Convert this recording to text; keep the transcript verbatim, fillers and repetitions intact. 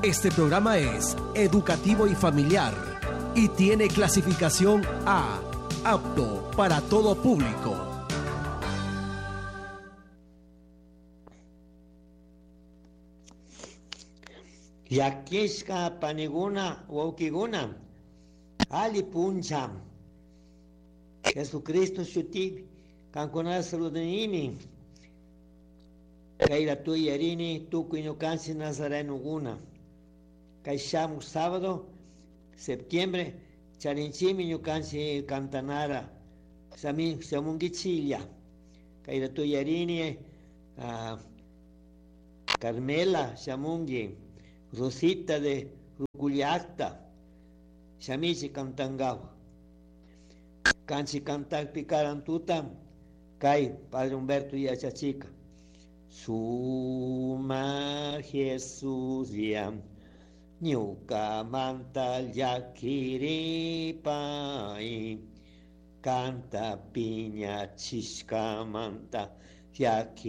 Este programa es educativo y familiar y tiene clasificación A, apto para todo público. Llakishka paniguna wawkiguna ali puncha Jesucristo shutipi kankunata saludanimi kay ratuy tukuy ñukanchik nazarenokuna kay shamuq sábado septiembre charinchikmi ñukanchik cantanara shamunkichiklla kay ratuyarini uh, Carmela shamunki Rosita de Rucullacta shamichik cantankawa kanchik cantakpi karan tuta kay Padre Humberto yachachika Suma Jesús ya ñukamanta llakiripai kanta piñachishkamanta llaki